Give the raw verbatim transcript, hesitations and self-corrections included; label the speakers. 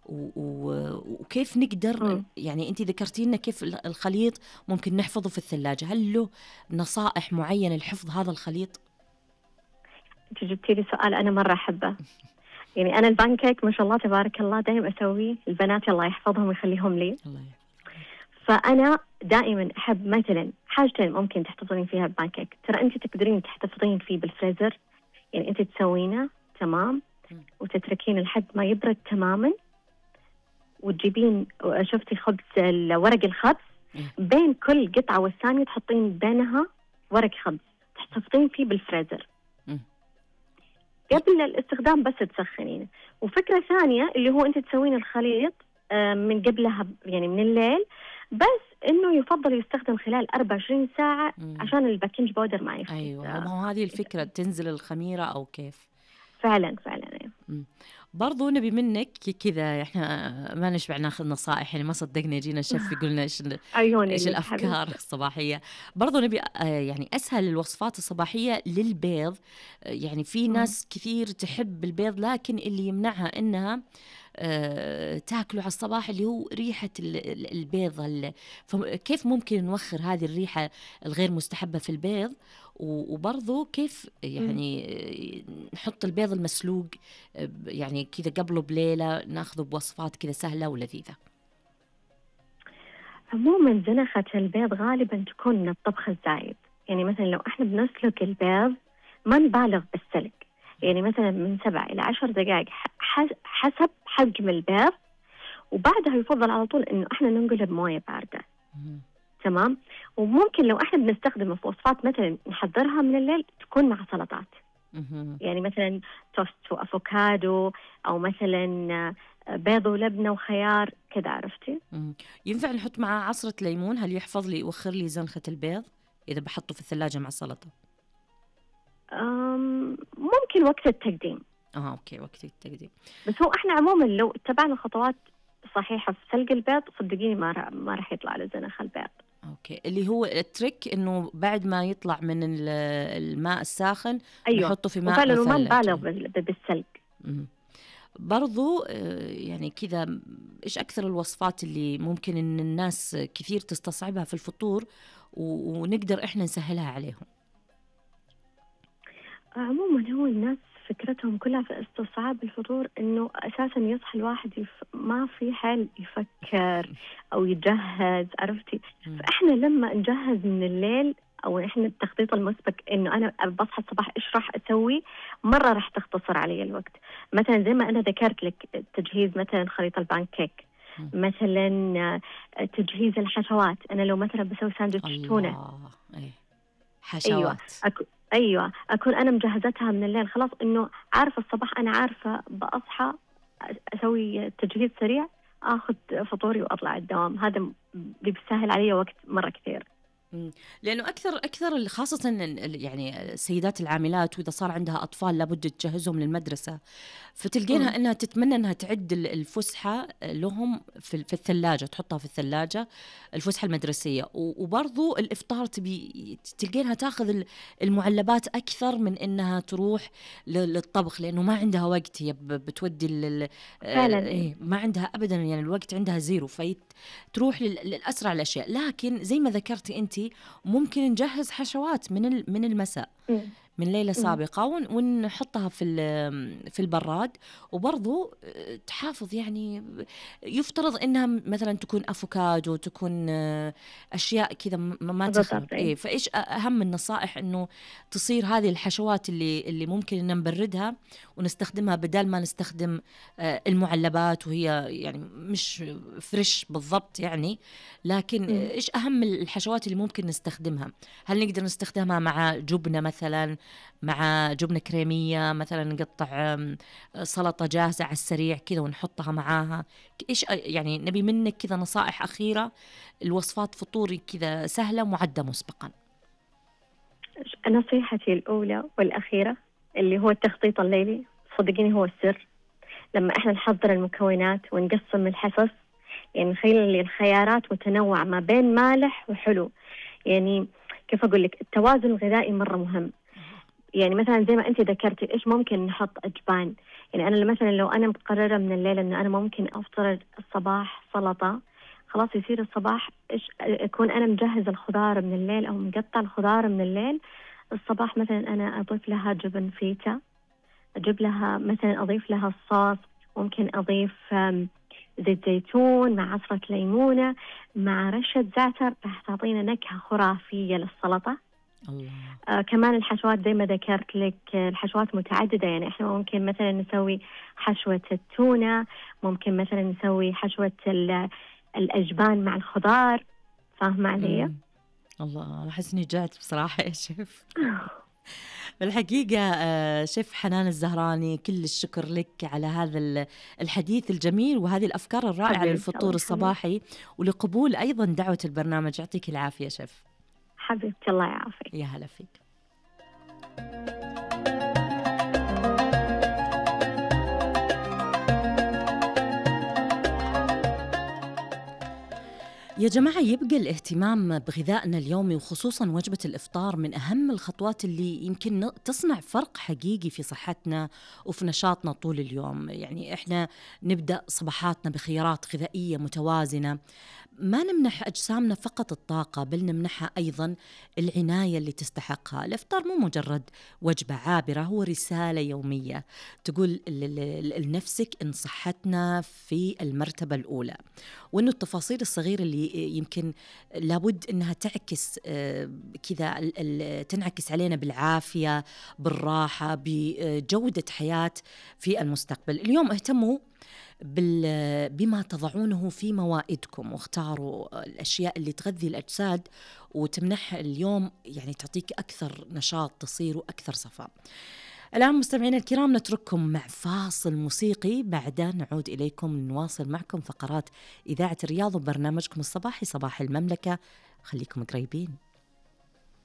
Speaker 1: وكيف نقدر، يعني أنت ذكرتي لنا كيف الخليط ممكن نحفظه في الثلاجة، هل له نصائح معينة لحفظ هذا الخليط؟
Speaker 2: أنت جبتي لي سؤال أنا مرة أحبه. يعني أنا البانكيك ما شاء الله تبارك الله دائما أسويه، البنات الله يحفظهم ويخليهم لي.
Speaker 1: الله.
Speaker 2: فأنا دائما أحب مثلا حاجتين ممكن تحتفظين فيها البانكيك، ترى أنت تقدرين تحتفظين فيه بالفريزر، يعني أنت تسوينه تمام وتتركين لحد ما يبرد تماما، وتجيبين شفتي خبز ورق الخبز بين كل قطعة والثانية تحطين بينها ورق خبز تحتفظين فيه بالفريزر قبل الاستخدام بس تسخنينه. وفكرة ثانية اللي هو أنت تسوين الخليط من قبلها يعني من الليل، بس إنه يفضل يستخدم خلال أربعة وعشرين ساعة مم. عشان الباكنج باودر ما يفقد.
Speaker 1: أيوة، ما هو هذه الفكرة، تنزل الخميرة أو كيف؟
Speaker 2: فعلا فعلا. أيوة.
Speaker 1: برضو نبي منك كذا، احنا ما نشبع ناخذ نصائح، يعني ما صدقنا يجينا الشيف يقولنا ايش ايش الافكار الصباحيه. برضو نبي يعني اسهل الوصفات الصباحيه للبيض. يعني في ناس كثير تحب البيض لكن اللي يمنعها انها أه تاكله على الصباح اللي هو ريحة البيض. فكيف ممكن نوخر هذه الريحة الغير مستحبة في البيض، وبرضو كيف يعني نحط البيض المسلوق يعني كذا قبله بليلة ناخذه بوصفات كذا سهلة ولذيذة؟
Speaker 2: عموما زنخة البيض غالبا تكون من الطبخ الزايد. يعني مثلا لو احنا بنسلق البيض ما نبالغ بالسلق، يعني مثلا من سبع إلى عشر دقائق حسب حجم البيض، وبعدها يفضل على طول إنه إحنا ننقله بموية باردة. تمام. وممكن لو إحنا بنستخدمه في وصفات مثلا نحضرها من الليل تكون مع سلطات، يعني مثلا توست وأفوكادو، أو مثلا بيض ولبنة وخيار كذا، عرفتي؟
Speaker 1: ينفع نحط معاه عصرة ليمون؟ هل يحفظ لي يوخر لي زنخة البيض إذا بحطه في الثلاجة مع السلطة؟
Speaker 2: ممكن وقت التقديم.
Speaker 1: اه اوكي، وقت التقديم.
Speaker 2: بس هو احنا عموما لو اتبعنا الخطوات صحيحة في سلق البيض صدقيني ما رح ما راح يطلع لزنخ البيض.
Speaker 1: اوكي، اللي هو التريك انه بعد ما يطلع من الماء الساخن
Speaker 2: أيوة.
Speaker 1: نحطه في ماء
Speaker 2: مثلج. وما نبالغ بالسلق.
Speaker 1: برضو يعني كذا، ايش اكثر الوصفات اللي ممكن ان الناس كثير تستصعبها في الفطور ونقدر احنا نسهلها عليهم؟
Speaker 2: عموما هو الناس فكرتهم كلها في استصعاب الفطور، انه اساسا يصحى الواحد يف... ما في حال يفكر او يجهز، عرفتي؟ فاحنا لما نجهز من الليل او احنا التخطيط المسبق انه انا بصحى الصباح ايش راح اسوي، مره راح تختصر علي الوقت. مثلا زي ما انا ذكرت لك تجهيز مثلا خليط البانكيك، مثلا تجهيز الحشوات. انا لو مثلا بسوي ساندويتش تونه،
Speaker 1: ايه حشوات،
Speaker 2: أيوة. أكو... أيوة أكون أنا مجهزتها من الليل، خلاص إنه عارفة الصباح أنا عارفة بأصحى أسوي تجهيز سريع أخذ فطوري وأطلع الدوام. هذا بيسهل علي وقت مرة كثير.
Speaker 1: لأنه أكثر أكثر خاصة يعني السيدات العاملات وإذا صار عندها أطفال لابد تجهزهم للمدرسة، فتلقينها أنها تتمنى أنها تعد الفسحة لهم في في الثلاجة، تحطها في الثلاجة الفسحة المدرسية، وبرضو الإفطار تبي تلقينها تأخذ المعلبات أكثر من أنها تروح للطبخ، لأنه ما عندها وقت، هي بتودي
Speaker 2: فعلا
Speaker 1: إيه ما عندها أبدا، يعني الوقت عندها زيرو، فتروح للأسرع الأشياء. لكن زي ما ذكرتي أنت ممكن نجهز حشوات من من المساء من ليلة سابقة ونحطها في في البراد، وبرضو تحافظ. يعني يفترض إنها مثلا تكون أفوكادو، تكون أشياء كذا ما تخرب. إيه فإيش أهم النصائح إنه تصير هذه الحشوات اللي اللي ممكن إن نبردها ونستخدمها بدل ما نستخدم المعلبات وهي يعني مش فريش بالضبط يعني. لكن م. إيش أهم الحشوات اللي ممكن نستخدمها؟ هل نقدر نستخدمها مع جبنة مثلا، مع جبنة كريمية مثلا، نقطع سلطة جاهزة على السريع كذا ونحطها معاها؟ إيش يعني نبي منك كذا نصائح أخيرة، الوصفات فطوري كذا سهلة معدة مسبقا.
Speaker 2: نصيحتي الأولى والأخيرة اللي هو التخطيط الليلي، صدقيني هو السر. لما إحنا نحضر المكونات ونقسم الحصص، يعني نخلي الخيارات متنوعة ما بين مالح وحلو. يعني كيف أقول لك، التوازن الغذائي مرة مهم. يعني مثلا زي ما أنت ذكرتي إيش ممكن نحط أجبان، يعني أنا مثلا لو أنا مقررة من الليل إنه أنا ممكن أفطر الصباح سلطة، خلاص يصير الصباح إيش أكون أنا مجهز الخضار من الليل أو مقطع الخضار من الليل. الصباح مثلا أنا أضيف لها جبن فيتا، أجيب لها مثلا أضيف لها الصوص، ممكن أضيف زيت زيتون مع عصرة ليمونة مع رشة زعتر، راح تعطينا نكهة خرافية للسلطة.
Speaker 1: الله.
Speaker 2: آه كمان الحشوات زي ما ذكرت لك، الحشوات متعددة، يعني إحنا ممكن مثلا نسوي حشوة التونة، ممكن مثلا نسوي حشوة الأجبان مع الخضار. فاهمة علي؟
Speaker 1: الله، أحس إني جعت بصراحة يا شيف. بالحقيقة شيف حنان الزهراني، كل الشكر لك على هذا الحديث الجميل وهذه الأفكار الرائعة للفطور الصباحي، ولقبول أيضا دعوة البرنامج. يعطيك العافية شيف.
Speaker 2: حبيبتي الله يعافيك.
Speaker 1: يا هلا فيك. يا جماعة، يبقى الاهتمام بغذائنا اليومي وخصوصاً وجبة الإفطار من أهم الخطوات اللي يمكن تصنع فرق حقيقي في صحتنا وفي نشاطنا طول اليوم. يعني إحنا نبدأ صباحاتنا بخيارات غذائية متوازنة، ما نمنح أجسامنا فقط الطاقة، بل نمنحها أيضاً العناية اللي تستحقها. الإفطار مو مجرد وجبة عابرة، هو رسالة يومية تقول لنفسك إن صحتنا في المرتبة الأولى، وإنه التفاصيل الصغيرة اللي يمكن لابد إنها تعكس كذا، تنعكس علينا بالعافية، بالراحة، بجودة حياة في المستقبل. اليوم اهتموا بما تضعونه في موائدكم، واختاروا الأشياء اللي تغذي الأجساد وتمنح اليوم يعني تعطيك أكثر نشاط تصير أكثر صفاء. الآن مستمعينا الكرام نترككم مع فاصل موسيقي، بعدها نعود إليكم نواصل معكم فقرات إذاعة الرياض وبرنامجكم الصباحي صباح المملكة. خليكم قريبين.